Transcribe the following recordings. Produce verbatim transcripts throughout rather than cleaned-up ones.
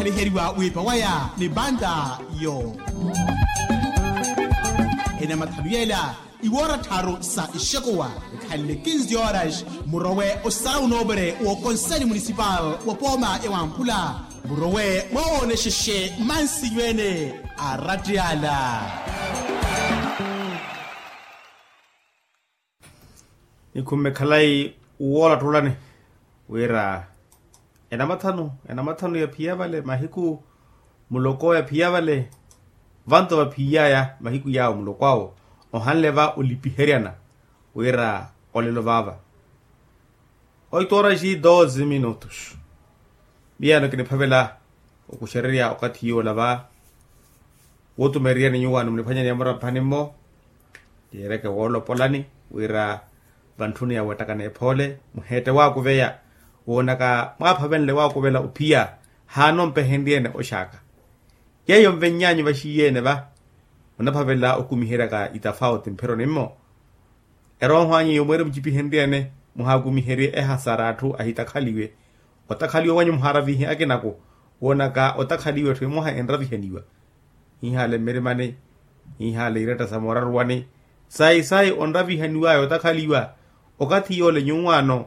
Eheriwa wiipa waya ni banda yo. Enamathanu yela iwoora tharu sa ixekuwa, ekhanle kinzi horas murowe osara unoopere w'okonseli munisipal wa pooma ya wamphula, murowe mwawoonexexe mansinyu ene a rattiyala. Nikhumme khalayi woolattuulani wira enamathanu enamathanu ya phiya vale mahiku muloko ya phiya vale. Vanto vaphiyaya mahiku yaawo muloko awo ohanle va olipiheryana wira olelo vaava. Oito horas e doze minutos. Miyano kiniphavela okuxererya okathi yoola va wootumereryani nyuwaano muniphwanyani ya muramphani-mo. Yeereke woolopolani wira vantthuni ya weettakana ephoole muheette waakuveya woonaka mwaaphavenle waakuvela ophiya haana ompehenryeene oxaaka. Yeeyo nvenny'anyu vaxiiyeene va onaphavela okumiheryaka itafauti mpheroni-mo. Erooho anyu eyo mweeri mucipihenryeene muhaakumiherye ehasara atthu ahitakhaliwe. Otakhaliwa wanyu muhaaravihe akinaku woonaka otakhaliwa etthu emwaha enravihaniwa. Hiihaale mmirimani hiihaale iretta sa mooraruwani sayi sayi onravihaniwaya otakhaliwa. Okathi yoole nyuwaano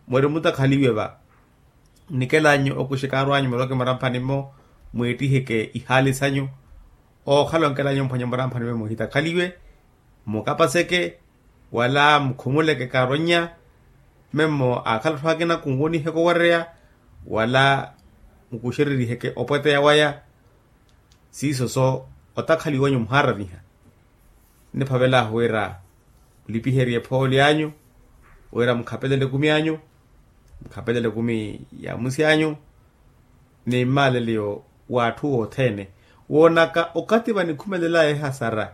mweeri mutakhaliwe va nnikela anyu okuxekaaru anyu muloke muramphani-mo mwiittiheke ihaali sanyu. Ookhala onkela anyu mphwanye muramphani-mo muhitakhaliwe mukapaseke wala mukhumuleke kaaronnya. Memmo aakhala atthu akina khunwoniheke owereya wala mukuxereriheke opweteya waya. Siiso so otakhaliwa wanyu muhaaraviha. Nniphavelaahu wira mulipiherye phooli anyu wira mukhapelele ekumi anyu mukhapelele ekumi ya musi anyu ni mmaaleleyo w'atthu othene woonaka okathi vanikhumelelaya ehasara.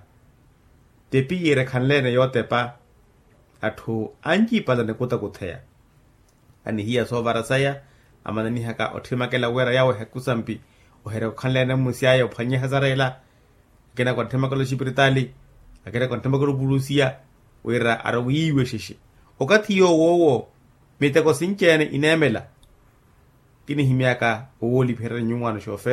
Tepi yiire ekhanle-ene yootepa atthu ancipala nikutakutheya anihiya soovara saya amananihaka otthimakela wira yawo ehekusampi oherya okhanle-ene mmusi aya ophwanye ehasara ela. Akina kwantthimaka oloxipiritaali akina kwantthimaka olopulusiya wira arowiiwe xexe. Okathi yoowo owo miteko sinci-ene ineemela. Kinihimyaka owoolipiherya nyuwaano xoofe